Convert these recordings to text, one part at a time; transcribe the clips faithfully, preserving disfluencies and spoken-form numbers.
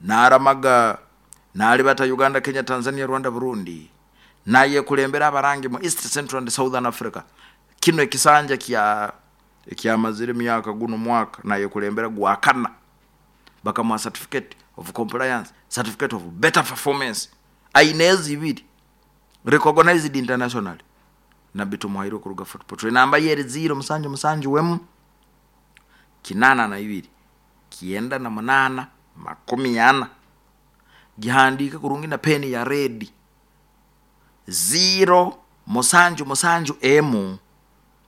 Naramaga nalibata Uganda, Kenya, Tanzania, Rwanda, Burundi, nayekulembera abarangi mu East, Central and Southern Africa. Kino ekisanja kya ekyamazire emyaka guno mwaka nayekulembera gwakana, bakamuha certificate of compliance, certificate of better performance, aine ezi ibiri recognized internationally. Nabbi Tumuhairwe kuruga Fort Portal, enamba ye eri ziro musanju musanju wemu kinana na ibiri kienda na munana makumi ana. Gihandike kurungi na peni ya red, ziro musanju musanju emu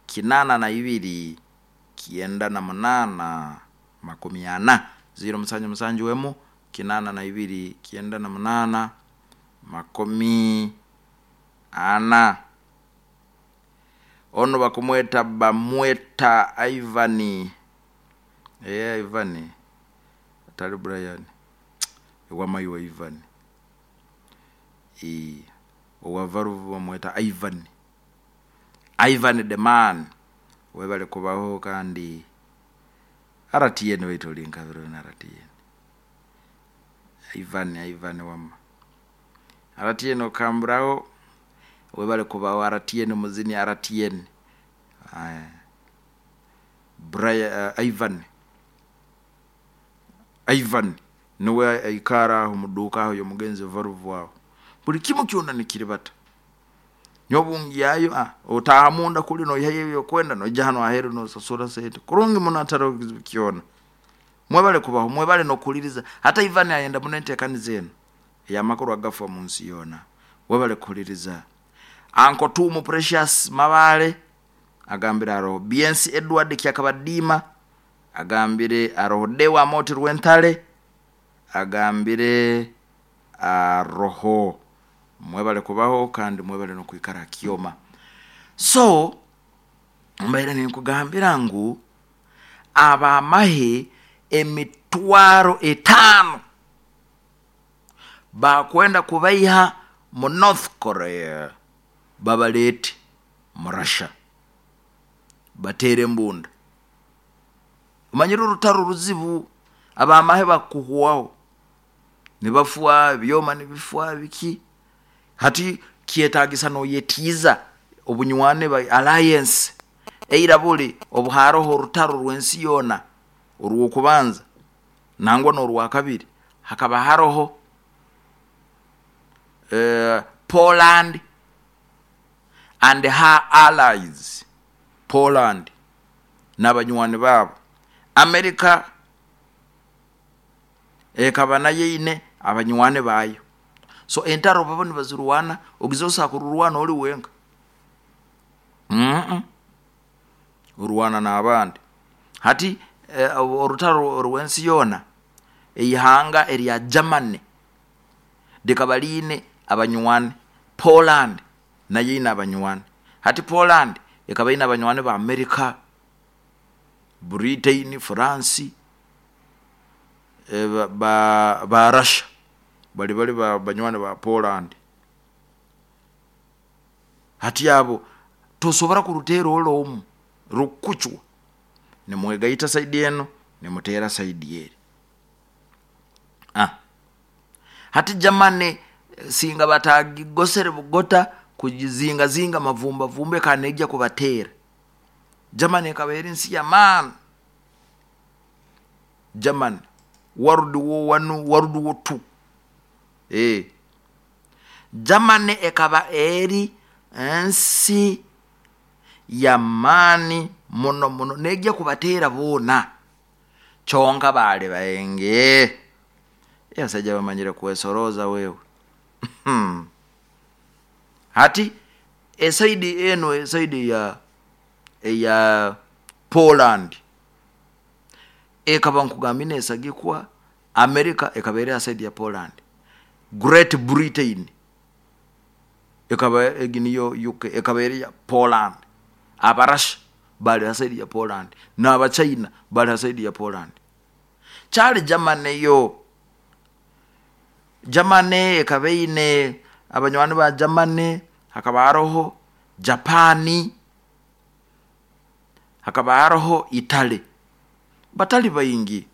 kinana na ibiri kienda na munana makumi ana, ziro musanju musanju emu kinana na ibiri kienda na munana makumi ana. Ono bakumweta bamweta Ivani, eh Ivani atali Brian, ewamayiwa Ivani, eh owavaruvu bamweta Ivan, Ivan the man. Webale kubaho kandi R T N waitu linkabiro na R T N. Ivan, Ivan wama R T N okambrao, webale kubaho R T N muzini R T N. Aya. Brian, uh, Ivan. Ivan niwe aikara aho muduka aho yomugenzi varuvu aho. Buli kimu kyona nikiribata. Nyobungi yayo, ah, otaha munda kuli no yaye yo kwenda no jano aheru no sasura sente. Kurungi muno ataro kiona. Mwebale kubaho, mwebale no kuliriza. Hata Ivan ayenda munente kanizeno. Ya makuru agafa mu nsi yona. Mwebale kuliriza. Anko Tumu Precious Mabale agambira aro B N C Edward Kyakabadima agambire aro Dewa Moti Rwentale agambire aroho. Mwebale kubaho kandi mwebale no kuikara kioma. So mbaire nikugambira ngu abamahe emitwaro etano bakwenda kubaiha mu North Korea babalete mu Russia batere mbunda. Umanyira urutaro ruzibu abamahe bakuhuwaho nibafua byoma nibifua biki hati kietagisa no yetiza obunywane ba alliance eira buli obuharoho orutaro rwensi yona orwokubanza nangwa norwa kabiri hakaba haroho, eh, Poland and her allies, Poland n'abanywani babo, America ekaba nayo ine abanywani bayo. So entaro babo nibazirwana ogizosa kururwana oli wenka. Mm-mm. Urwana n'abandi. Hati, eh, orutaro rwensi yona eihanga erya Germany likabaline abanywani, Poland nayo ine abanywani. Hati Poland ekaba ine abanywani ba America, Britain, France, eh, ba, ba, ba Russia bali bali ba banywani ba Poland. Hati abo tosobora kurutera olomu rukuchwa nimwegaita saidi eno nimutera saidi eri. Ah. Hati Germany singa batagigosere bugota kujizinga zinga mavumba vumbe kanejja kubatera. Germany ekaba eri nsi ya man. Germany World War one, World War two. Eh. Germany ekaba eri nsi ya mani muno muno nejja kubatera bona. Chonga bale baenge. Yasajja bamanyire kwesoroza wewe. Hmm. Hati esaidi eno esaidi ya ya Poland ekaba nkugambine esagikwa America ekaba eri asaidi ya Poland, Great Britain ekaba eginiyo U K ekaba eri ya Poland, Abarasha bali asaidi ya Poland na China bali asaidi ya Poland. Chali Germany yo Germany ekaba ine abanywani ba Germany, hakaba haroho Japani, hakaba haroho Italy, batali bayingi.